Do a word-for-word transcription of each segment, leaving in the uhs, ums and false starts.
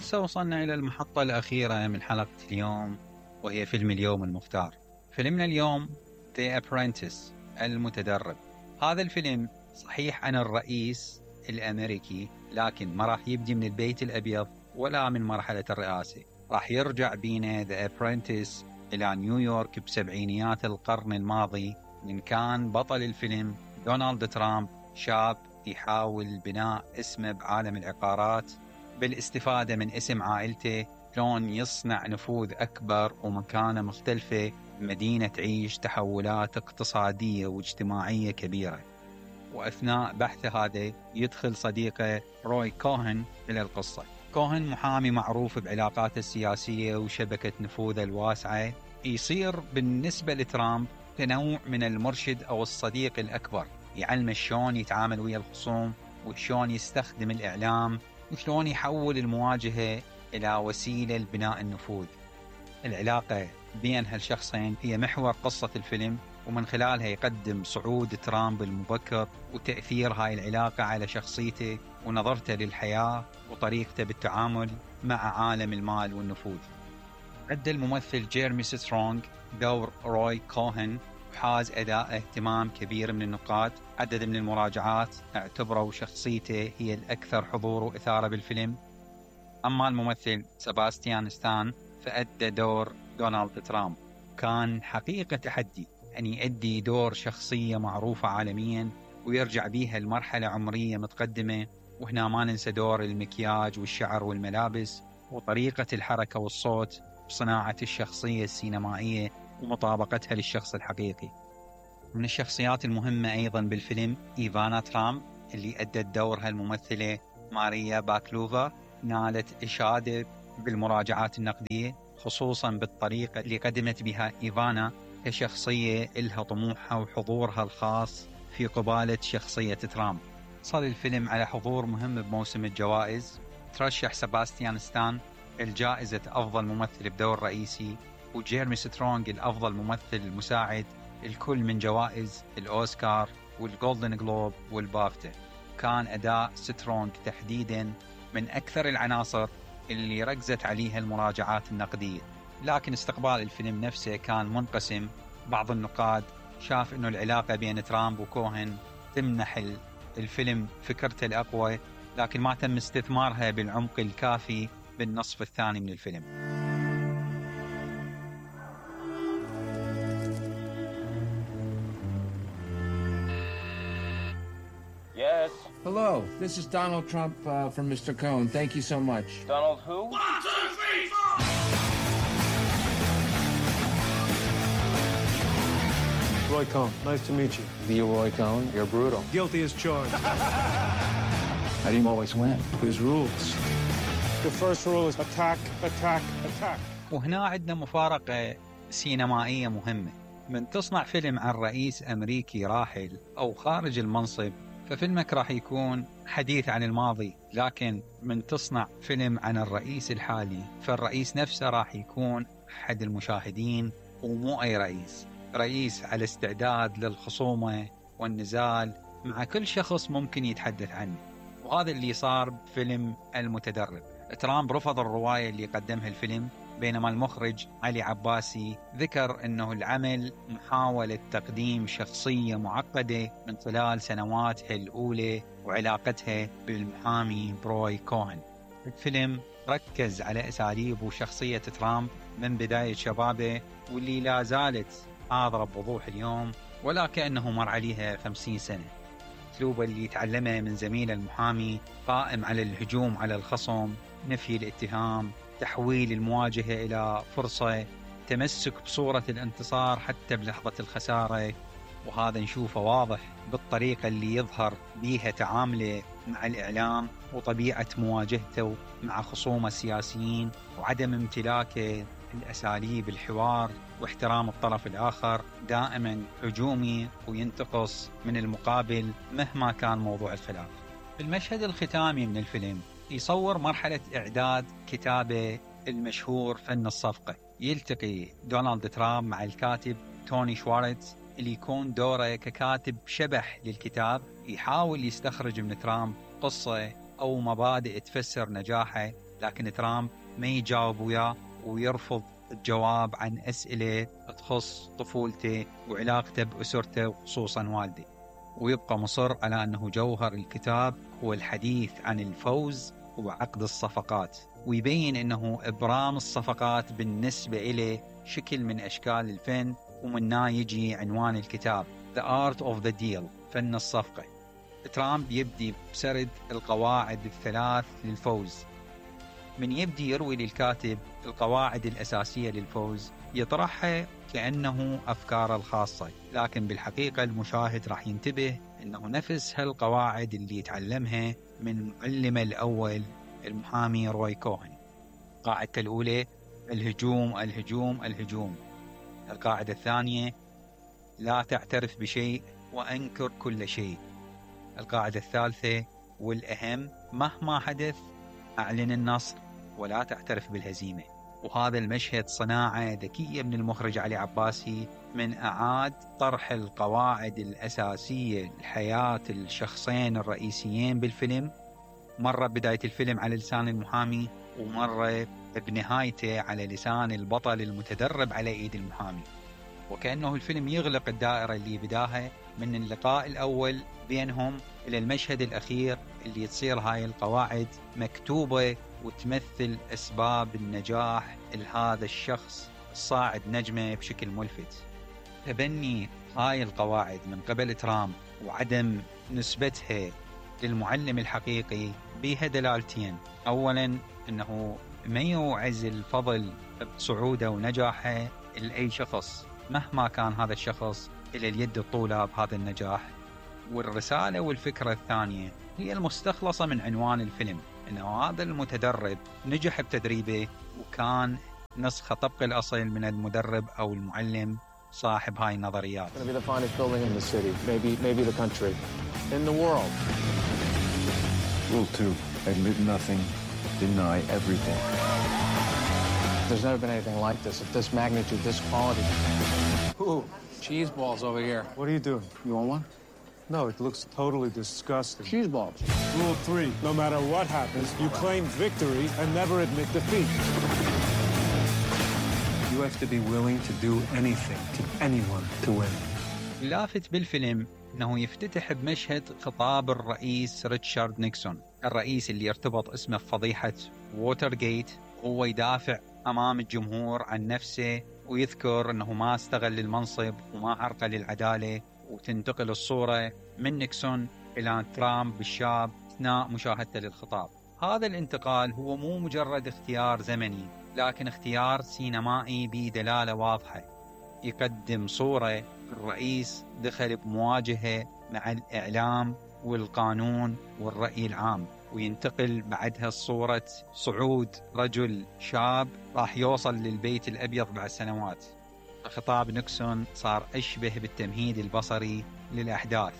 وهسه وصلنا إلى المحطة الأخيرة من حلقة اليوم، وهي فيلم اليوم المختار. فيلمنا اليوم The Apprentice، المتدرب. هذا الفيلم صحيح عن الرئيس الأمريكي، لكن ما راح يبدي من البيت الأبيض ولا من مرحلة الرئاسة. راح يرجع بينا The Apprentice إلى نيويورك بسبعينيات القرن الماضي، من كان بطل الفيلم دونالد ترامب، شاب يحاول بناء اسمه بعالم العقارات بالاستفادة من اسم عائلته، شلون يصنع نفوذ أكبر ومكانة مختلفة بمدينة تعيش تحولات اقتصادية واجتماعية كبيرة. وأثناء بحثه هذا يدخل صديقه روي كوهن إلى القصة. كوهن محامي معروف بعلاقاته السياسية وشبكة نفوذه الواسعة، يصير بالنسبة لترامب كنوع من المرشد أو الصديق الأكبر، يعلم شلون يتعامل ويا الخصوم وشلون يستخدم الإعلام وشلون يحول المواجهة إلى وسيلة لبناء النفوذ. العلاقة بين هالشخصين هي محور قصة الفيلم، ومن خلالها يقدم صعود ترامب المبكر وتأثير هاي العلاقة على شخصيته ونظرته للحياة وطريقته بالتعامل مع عالم المال والنفوذ. أدى الممثل جيرمي سترونغ دور روي كوهن، وحاز أداء اهتمام كبير من النقاد. عدد من المراجعات اعتبروا شخصيته هي الأكثر حضور وإثارة بالفيلم. أما الممثل سباستيان ستان فأدى دور دونالد ترامب. كان حقيقة تحدي أن يؤدي دور شخصية معروفة عالميا ويرجع بيها لمرحلة عمرية متقدمة. وهنا ما ننسى دور المكياج والشعر والملابس وطريقة الحركة والصوت بصناعة الشخصية السينمائية ومطابقتها للشخص الحقيقي. من الشخصيات المهمة أيضا بالفيلم إيفانا ترامب، اللي أدت دورها الممثلة ماريا باكلوفا. نالت إشادة بالمراجعات النقدية، خصوصا بالطريقة اللي قدمت بها إيفانا كشخصية إلها طموحها وحضورها الخاص في قبالة شخصية ترامب. صار الفيلم على حضور مهم بموسم الجوائز. ترشح سباستيان ستان الجائزة أفضل ممثل بدور رئيسي، وجيرمي سترونغ الأفضل ممثل مساعد، الكل من جوائز الأوسكار والجولدن جلوب والبافتا. كان أداء سترونغ تحديدا من أكثر العناصر اللي ركزت عليها المراجعات النقدية. لكن استقبال الفيلم نفسه كان منقسم. بعض النقاد شاف أنه العلاقة بين ترامب وكوهن تمنح الفيلم فكرته الأقوى، لكن ما تم استثمارها بالعمق الكافي بالنصف الثاني من الفيلم. Yes. Hello, this is Donald Trump uh, from Mister Cohn. Thank you so much. Donald who? One, two, three, four! Roy Cohn, nice to meet you. Leroy Cohn, you're brutal. Guilty as charged. How do you always win? There's rules. The first rule is attack, attack, attack. وهنا عندنا مفارقة سينمائية مهمة. من تصنع فيلم عن رئيس أمريكي راحل أو خارج المنصب ففيلمك راح يكون حديث عن الماضي، لكن من تصنع فيلم عن الرئيس الحالي فالرئيس نفسه راح يكون أحد المشاهدين ومو أي رئيس. رئيس على استعداد للخصومة والنزال مع كل شخص ممكن يتحدث عنه. وهذا اللي صار بفيلم المتدرب. ترامب رفض الرواية اللي قدمها الفيلم، بينما المخرج علي عباسي ذكر أنه العمل محاولة تقديم شخصية معقدة من خلال سنواتها الأولى وعلاقتها بالمحامي روي كوهن. الفيلم ركز على أساليب وشخصية ترامب من بداية شبابه، واللي لا زالت حاضرة بوضوح اليوم ولا كأنه مر عليها خمسين سنة. أسلوبه اللي يتعلمه من زميله المحامي قائم على الهجوم على الخصم، نفي الاتهام، تحويل المواجهة إلى فرصة، تمسك بصورة الانتصار حتى بلحظة الخسارة. وهذا نشوفه واضح بالطريقة اللي يظهر بيها تعامله مع الإعلام وطبيعة مواجهته مع خصومه السياسيين وعدم امتلاكه الأساليب الحوار واحترام الطرف الآخر، دائما هجومي وينتقص من المقابل مهما كان موضوع الخلاف. في المشهد الختامي من الفيلم يصور مرحلة إعداد كتابه المشهور فن الصفقة. يلتقي دونالد ترامب مع الكاتب توني شوارتز اللي يكون دوره ككاتب شبح للكتاب، يحاول يستخرج من ترامب قصة أو مبادئ تفسر نجاحه لكن ترامب ما يجاوب وياه ويرفض الجواب عن أسئلة تخص طفولته وعلاقته بأسرته وخصوصا والده، ويبقى مصر على أنه جوهر الكتاب هو الحديث عن الفوز وعقد الصفقات، ويبين أنه إبرام الصفقات بالنسبة إليه شكل من أشكال الفن، ومنها يجي عنوان الكتاب The Art of the Deal، فن الصفقة. ترامب يبدي بسرد القواعد الثلاث للفوز. من يبدي يروي للكاتب القواعد الأساسية للفوز يطرحها كأنه أفكاره الخاصة، لكن بالحقيقة المشاهد راح ينتبه أنه نفس هالقواعد اللي يتعلمها من معلمه الأول المحامي روي كوهن. قاعدة الأولى الهجوم الهجوم الهجوم. القاعدة الثانية لا تعترف بشيء وأنكر كل شيء. القاعدة الثالثة والأهم مهما حدث أعلن النصر ولا تعترف بالهزيمة. وهذا المشهد صناعة ذكية من المخرج علي عباسي من أعاد طرح القواعد الأساسية لحياة الشخصين الرئيسيين بالفيلم، مرة بداية الفيلم على لسان المحامي ومرة بنهايته على لسان البطل المتدرب على إيد المحامي، وكأنه الفيلم يغلق الدائرة اللي بداها من اللقاء الأول بينهم إلى المشهد الأخير اللي تصير هاي القواعد مكتوبة وتمثل أسباب النجاح لهذا الشخص الصاعد نجمة بشكل ملفت. تبني هاي القواعد من قبل ترامب وعدم نسبتها للمعلم الحقيقي بها دلالتين: أولا أنه ما يوعز الفضل بصعوده ونجاحه لأي شخص مهما كان هذا الشخص إلى اليد الطولى بهذا النجاح. والرسالة والفكرة الثانية هي المستخلصة من عنوان الفيلم، أنه هذا المتدرب نجح بتدريبه وكان نسخة طبق الأصل من المدرب أو المعلم صاحب هاي النظريات. It's going to be the finest building in the city, maybe, maybe the country, in the world. Rule two, admit nothing, deny everything. There's never been anything like this, of this magnitude, this quality. Ooh, Cheese balls over here. what are you doing? You want one? No, it looks totally disgusting. Cheese balls. Rule three, no matter what happens, you claim victory and never admit defeat. You have to be willing to do anything to anyone to win. اللافت بالفيلم أنه يفتتح بمشهد خطاب الرئيس ريتشارد نيكسون، الرئيس اللي ارتبط اسمه بفضيحة ووترغيت، هو يدافع أمام الجمهور عن نفسه ويذكر أنه ما استغل المنصب وما عرقل العدالة، وتنتقل الصورة من نيكسون إلى ترامب الشاب أثناء مشاهدته للخطاب. هذا الانتقال هو مو مجرد اختيار زمني، لكن اختيار سينمائي بدلالة واضحة، يقدم صورة الرئيس دخل بمواجهة مع الإعلام والقانون والرأي العام، وينتقل بعدها صورة صعود رجل شاب راح يوصل للبيت الأبيض بعد سنوات. خطاب نيكسون صار أشبه بالتمهيد البصري للأحداث،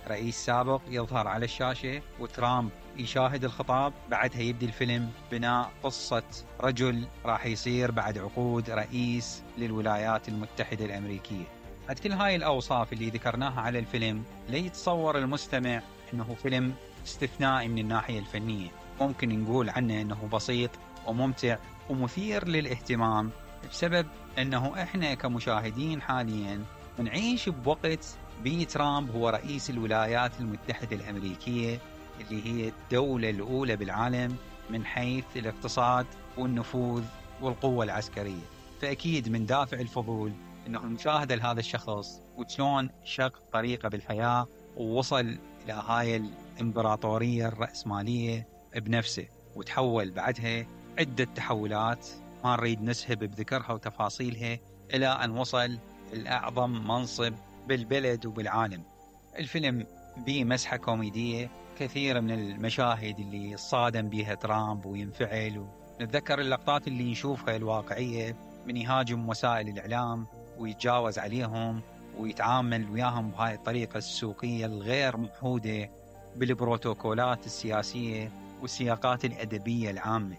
رئيس سابق يظهر على الشاشة وترامب يشاهد الخطاب، بعدها يبدي الفيلم بناء قصة رجل راح يصير بعد عقود رئيس للولايات المتحدة الأمريكية. بعد كل هاي الأوصاف اللي ذكرناها على الفيلم ليتصور المستمع أنه فيلم استثنائي من الناحية الفنية، ممكن نقول عنه أنه بسيط وممتع ومثير للاهتمام بسبب أنه إحنا كمشاهدين حاليا نعيش بوقت بي ترامب هو رئيس الولايات المتحدة الأمريكية اللي هي الدولة الأولى بالعالم من حيث الاقتصاد والنفوذ والقوة العسكرية. فأكيد من دافع الفضول أنه المشاهدة لهذا الشخص وشلون شق طريقة بالحياة ووصل إلى هاي الإمبراطورية الرأسمالية بنفسه، وتحول بعدها عدة تحولات ما نريد نسهب بذكرها وتفاصيلها إلى أن وصل الأعظم منصب بالبلد وبالعالم. الفيلم بيه مسحة كوميدية، كثير من المشاهد اللي صادم بيها ترامب وينفعل، ونتذكر اللقطات اللي يشوفها الواقعية من يهاجم وسائل الإعلام ويتجاوز عليهم ويتعامل وياهم بهاي الطريقة السوقية الغير محودة بالبروتوكولات السياسية والسياقات الأدبية العامة.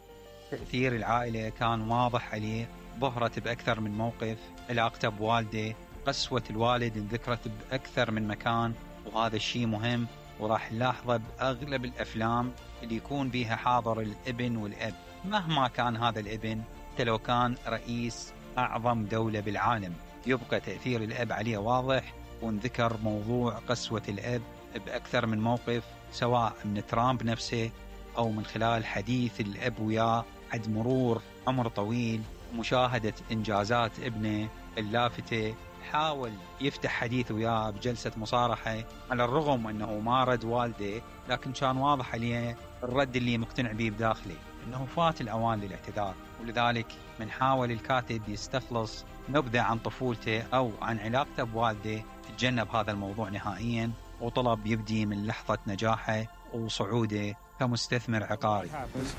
تأثير العائلة كان واضح عليه، ظهرت بأكثر من موقف، علاقته بوالده، قسوة الوالد انذكرت بأكثر من مكان، وهذا الشيء مهم وراح نلاحظه بأغلب الأفلام اللي يكون بيها حاضر الابن والأب. مهما كان هذا الابن، حتى لو كان رئيس أعظم دولة بالعالم، يبقى تأثير الأب عليه واضح. ونذكر موضوع قسوة الأب بأكثر من موقف، سواء من ترامب نفسه أو من خلال حديث الأب وياه عد مرور عمر طويل، مشاهدة إنجازات ابنه اللافتة. حاول يفتح حديث وياه بجلسة مصارحة، على الرغم أنه ما رد والده، لكن كان واضح عليه الرد اللي مقتنع به بداخله أنه فات الأوان للاعتذار. ولذلك من حاول الكاتب يستخلص نبذة عن طفولته أو عن علاقته بوالده، تجنب هذا الموضوع نهائيا، وطلب يبدي من لحظة نجاحه وصعوده كمستثمر عقاري.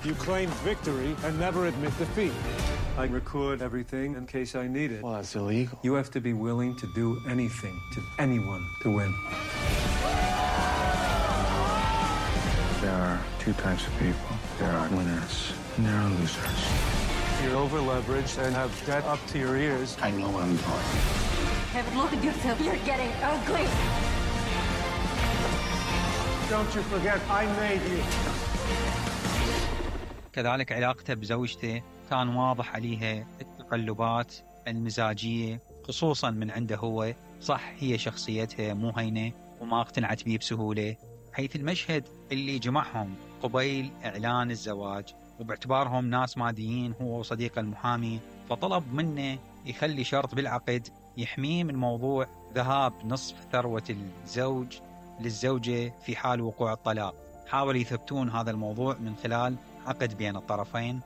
You claim victory and never admit defeat. I record everything in case I need it. Well, that's illegal. You have to be willing to do anything to anyone to win. There are two types of people. There are winners and there are losers. You're over-leveraged and have debt up to your ears. I know what I'm doing. Kevin, look at yourself. You're getting ugly. Don't you forget, I made you. كذلك علاقته بزوجته كان واضح عليها التقلبات المزاجية، خصوصا من عنده هو. صح هي شخصيتها مو هينة وما اقتنعت بيه بسهولة، حيث المشهد اللي جمعهم قبيل إعلان الزواج، وباعتبارهم ناس ماديين هو وصديق المحامي، فطلب منه يخلي شرط بالعقد يحميه من موضوع ذهاب نصف ثروة الزوج للزوجة في حال وقوع الطلاق. حاولوا يثبتون هذا الموضوع من خلال عقد بين الطرفين.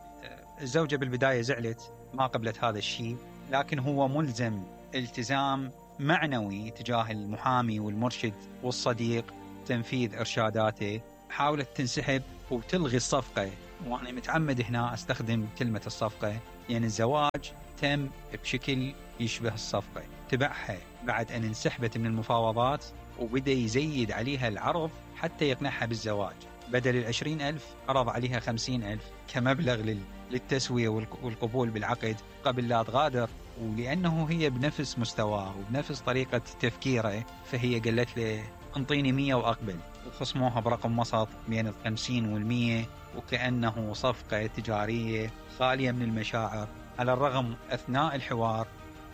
الزوجة بالبداية زعلت، ما قبلت هذا الشيء، لكن هو ملزم التزام معنوي تجاه المحامي والمرشد والصديق تنفيذ إرشاداته. حاولت تنسحب وتلغي الصفقة، وأنا متعمد هنا أستخدم كلمة الصفقة، يعني الزواج تم بشكل يشبه الصفقة. تبعها بعد أن انسحبت من المفاوضات، وبدأ يزيد عليها العرض حتى يقنعها بالزواج. بدل العشرين ألف عرض عليها خمسين ألف كمبلغ للتسوية والقبول بالعقد قبل لا تغادر. ولأنه هي بنفس مستواه وبنفس طريقة تفكيره، فهي قالت له انطيني مية وأقبل، وخصموها برقم وسط بين الخمسين والمية، وكأنه صفقة تجارية خالية من المشاعر. على الرغم أثناء الحوار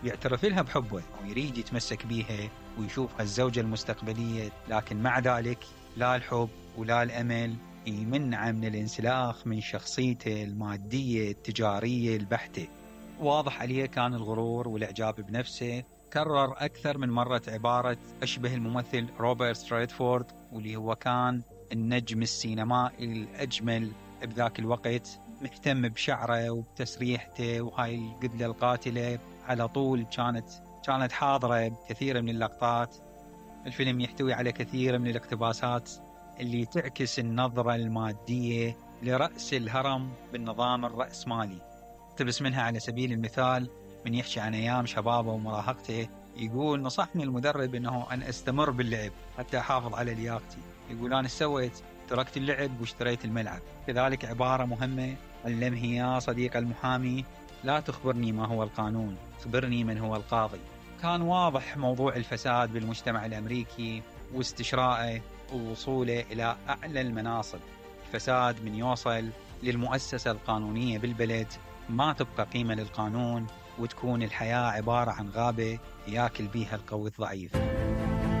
يعترف لها بحبه ويريد يتمسك بيها ويشوفها الزوجة المستقبلية، لكن مع ذلك لا الحب ولا الأمل يمنع من الانسلاخ من شخصيته المادية التجارية البحتة. واضح عليه كان الغرور والإعجاب بنفسه. كرر أكثر من مرة عبارة أشبه الممثل روبرت ريدفورد، واللي هو كان النجم السينمائي الأجمل بذاك الوقت، مهتم بشعره وبتسريحته، وهاي القدلة القاتلة على طول كانت كانت حاضرة بكثير من اللقطات. الفيلم يحتوي على كثير من الاقتباسات اللي تعكس النظرة المادية لرأس الهرم بالنظام الرأسمالي. اقتبس منها على سبيل المثال من يحكي عن أيام شبابه ومراهقته، يقول نصحني المدرب أنه أن أستمر باللعب حتى أحافظ على لياقتي. يقول أنا سويت، تركت اللعب واشتريت الملعب. كذلك عبارة مهمة علمه يا صديق المحامي، لا تخبرني ما هو القانون، خبرني من هو القاضي. كان واضح موضوع الفساد بالمجتمع الأمريكي واستشراءه ووصوله إلى أعلى المناصب. الفساد من يوصل للمؤسسة القانونية بالبلد ما تبقى قيمة للقانون، وتكون الحياة عبارة عن غابة ياكل بيها القوي الضعيف.